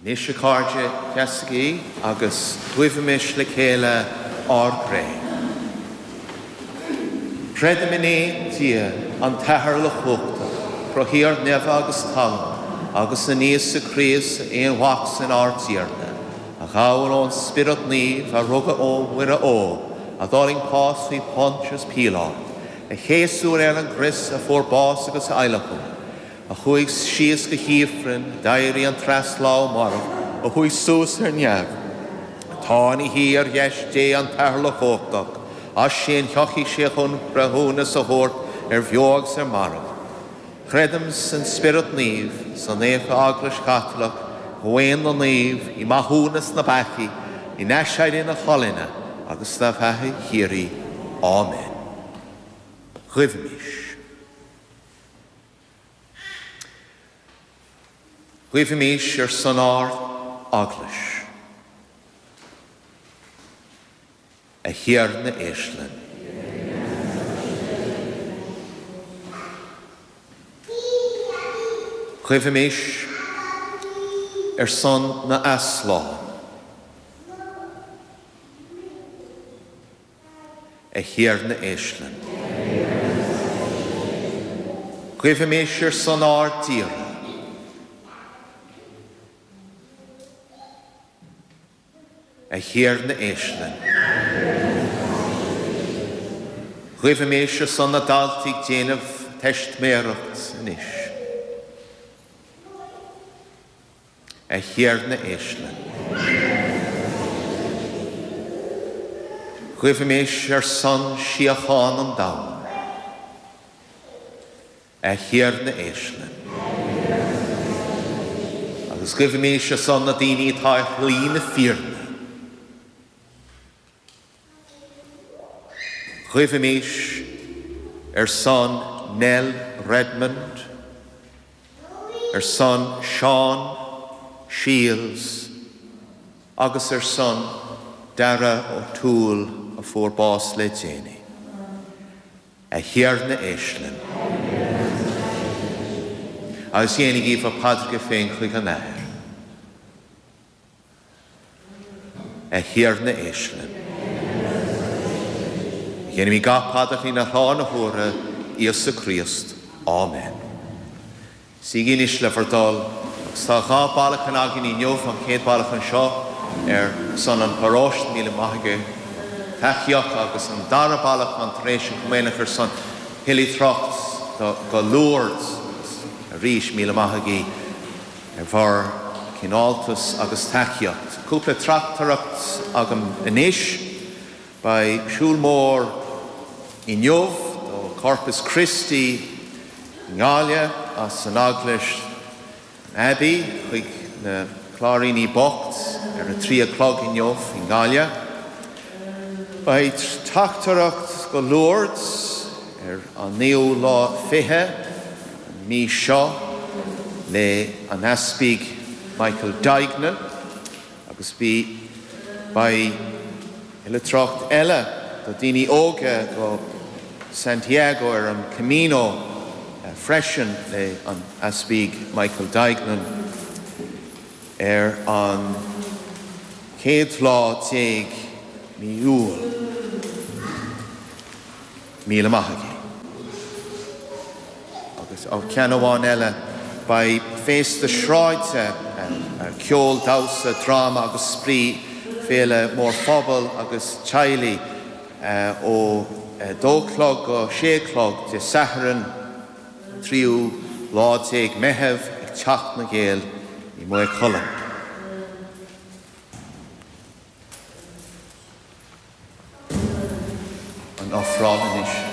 Anois, a chairde, seasaigí agus guífimis le chéile ár gcré. Creidim in aon Dia, an tAthair Uilechumhachtach, Cruthaíoir neimhe agus talún, agus in Íosa Críost, a Aonmhac-san ár dTiarna, a ghabh ón Spiorad Naomh, a rugadh ó Mhuire Ógh, a d'fhulaing pás faoi Phontius Píoláit, a céasadh ar an gcrois, a fuair bás agus a adhlacadh, a chuaigh síos go hIfreann, a d'éirigh an treas lá ó mairbh, a chuaigh suas ar neamh, atá ina shuí ar dheis Dé an tAthair Uilechumhachtach, as sin tiocfaidh sé chun breithiúnas a thabhairt ar bheo agus ar mhairbh. Creidim san Spiorad Naomh, sa Naofa Eaglais Chaitliceach, i gcomhaon na naomh, i maithiúnas na bpeacaí, in aiséirí na colainne, agus sa bheatha shíoraí. Áiméan. Guífimis. Guífimis ar son ár Eaglais. A Thiarna éist linn. Guífimis ar son na n-easlán. A Thiarna éist linn. Guífimis ar son ár dtíre. A Thiarna éist linn. Guífimis ar son na daltaí ag déanamh teistiméireacht anois. A Thiarna éist linn. Guífimis ar son síocháin an domhain. A Thiarna éist linn. Agus guífimis ar son na daoine atá ar shlí na fírinne. Guífimis ar son Nell Redmond, ar son Seán Shiels agus ar son Dara O'Toole a fuair bás le déanaí. A Thiarna éist linn. Agus déanaigí bhur paidreacha féin chuig an Athair. A Thiarna éist linn. Déanaimid gach paidir faoina shlán na huaire, Íosa Críost. Áiméan. Suígí anois le bhur dtoil, agus tá dha bailiúchán againn inniu, an chéad bailiúchán seo ar son an pharóiste, míle maith agaibh tacaíocht, agus an dara bailiúchán tar éis an Chomaoineach ar son oilithreacht go Lourdes, agus arís míle maith agaibh. ar bhur gcineáltas agus tacaíocht. Cúpla trachtaireacht agam anois. Beidh siúl mór inniu do Corpus Christi i nGaillimh as an Eaglais an Abbey chuig na Cláiríní Bocht ar a 3 a chlog inniu i nGaillimh. Beidh teachtaireacht go Lourdes ar an naoú lá 20 an mí seo le an Easpaig Michael Duignan agus bí beidh oilithreacht eile do daoine óga go Santiago ar an Camino freisin le an Easpaig Michael Duignan ar an chéad lá déag mí Iúil. Míle maith agaibh. Agus ó ceann amháin eile, beidh féasta sráide, ceol, damhsa, dráma agus spraoi, féile mór phobail agus teaghlaigh ó 2 a chlog go 6 a chlog Dé Sathairn, tríú lá déag Meitheamh ag Teach na nGael i Maigh Cuilinn. An ofráil anois.